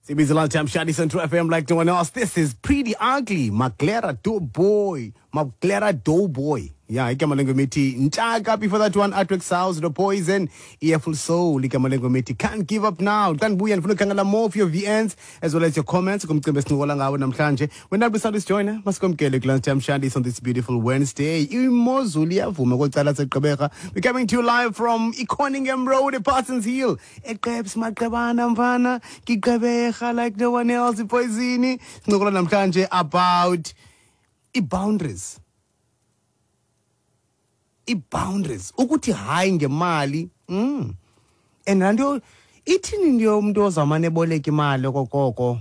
Sibiza lunchtime Shadi Central FM like no one else. This is Pretty Ugly, Maglera Doughboy. Maglera Doughboy. Yeah, igama lengoma Ntshaka. Before that one, Artwork Sounds, The Poison, Earful Soul, igama lengoma Can't Give Up Now. Xa ndibuya ndifuna ukukhangela more of your VNs as well as your comments kumcimbi esincokola ngawo namhlanje. When that beside join, masikomkele ku lunchtime Shadi on this beautiful Wednesday. Imozulu iyavuma kwecala seGqeberha. We're coming to you live from Iconingham Road, Parsons Hill. Eqebs maqebana mfana, Gqeberha like no one else, ipoisini. Sincokola namhlanje about i-boundaries. I-boundaries ukuthi hayi ngemali. And laa nto ithini into yomntu ozawumane eboleka imali okokoko?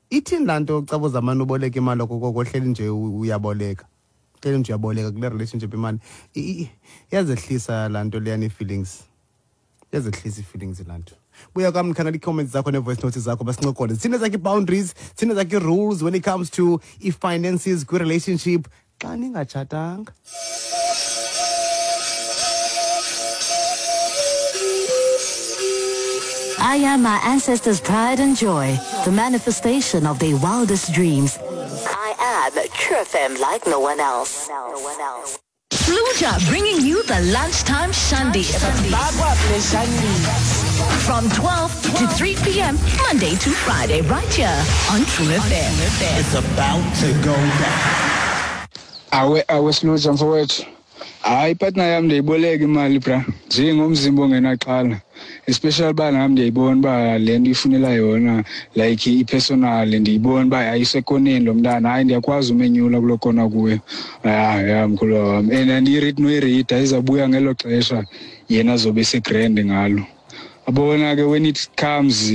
Ithini laa nto caba uzamane uboleka imali okokoko, ohleli nje uyaboleka, hleli nje uyaboleka kule relationship imali? Iyazehlisa laa nto leyana ii-feelings, iyazehlisa ii-feelings laa nto. Buya kwam ndikhangela ii-comments zakho nee-voice notes zakho, basincokole. Thina zakho ii-boundaries, thina zakho ii-rules when it comes to ii-finances kwi-relationship xa ningatshatanga. I am my ancestors' pride and joy, the manifestation of their wildest dreams. I am True FM like no one else. Fluja bringing you the lunchtime shandy. From 12 to 3 p.m., Monday to Friday, right here on True FM. It's about to go down. Awe, awe, Siluja mfowethu. Hayi, ipartner yam ndiyayiboleka imali bra, njengomzimba ongenaxhala, especially uba nam ndiyayibona uba le nto ifunela yona like i-personal, ndiyibona uba ayisekoneni lo mntana. Hayi, ndiyakwazi umenyula kuloo kona kuyo. Ya ya, mkhulu wam, and andiyiridi noyirida, izawubuya ngelo xesha yena azobe segrand ngalo. Abona ke, when it comes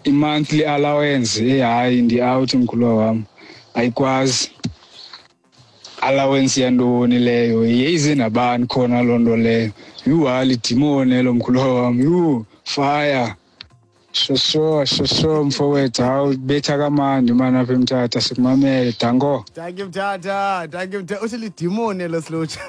i-monthly allowance, eyi hayi, ndi-out mkhulu wam, ayikwazi. Allowance yantoni leyo? Yeyize nabani khona loo nto leyo? Yhu, hayi, lidimoni elo mkhulu wam. Yhu, fire, shosho shosho mfowethu. Hawu, betha kamandi mani apha eMthatha, sikumamele, danko. Thank you Mthatha, thank you Mthatha. Uthi lidimoni elo, Silutsha.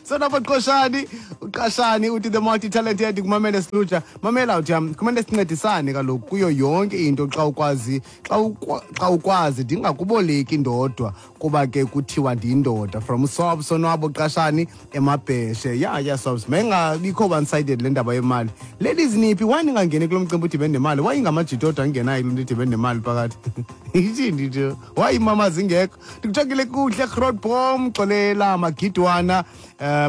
So napha Qoshani, uqashani uthi the multi-talented kumamele Silutsha. Mamela uthi kumele sincedisane kaloku kuyo yonke into xa ukwazi, xa ukwazi ndingakuboleki ndodwa kuba ke kuthiwa ndiyindoda. From Sobs Sonwabo Qashani eMabheshe. Yeah, Sobs. Mayingabikho one sided le ndaba yemali. Ladies niphi, why ningangeni kulo mcimbi udibene nemali? Why ingamajita odwa angenayo kuloo nto idibene nemali phakathi? Ithini nje? Why imama zingekho? Ndikuthokile kuhle Grootboom, Xolela Magidwana,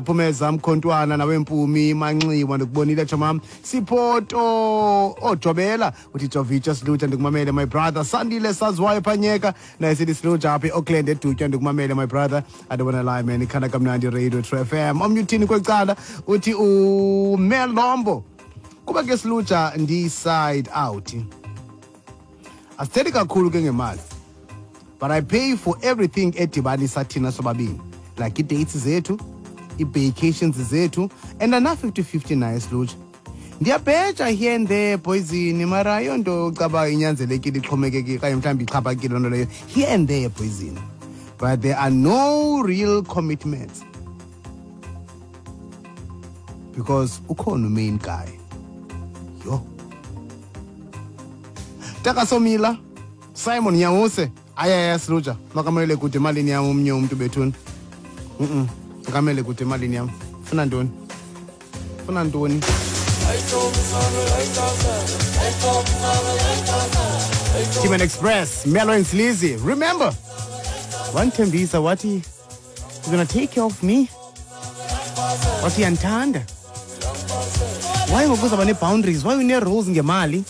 Phumeza Mkhontwana nawe Mpumi Manxiwa, ndikubonile chomam. Siphoto ojobela uthi Jovicha Silutsha, ndikumamele my brother. Sandile Saziwayo Phanyeka naye sithi Silutsha apha eAuckland eDutywa, ndikumamele my brother. I don't wanna lie man, ikhanda kamnandi Radio True FM. Omnye uthini kwecala uthi uMelombo kuba ke Silutsha ndi side out. Asithethi kakhulu ke ngemali, but I pay for everything edibanisa thina sobabini, like ii-dates zethu, ii-vacations zethu, and ana 50-50 naye Silutsha. Ndiyabheja here and there poison, mara ayonto caba inyanzelekile ixhomekeke okanye mhlawumbi ixhaphakile loo nto leyo, here and there poison, but there are no real commitments because ukhona umain guy. Yho, Takasomila Simon Nyawuse, ayaya Silutsha, makamele kude emalini yam omnye umntu bethuni. Makamele kude emalini yam. Funa ntoni? Funa ntoni? Team and Express, Melo and Sleazy. Remember, wandithembisa wathi you're gonna take care of me, wathi uyandithanda. Why ngoku uzawuba nee-boundaries? Why une-rules ngemali?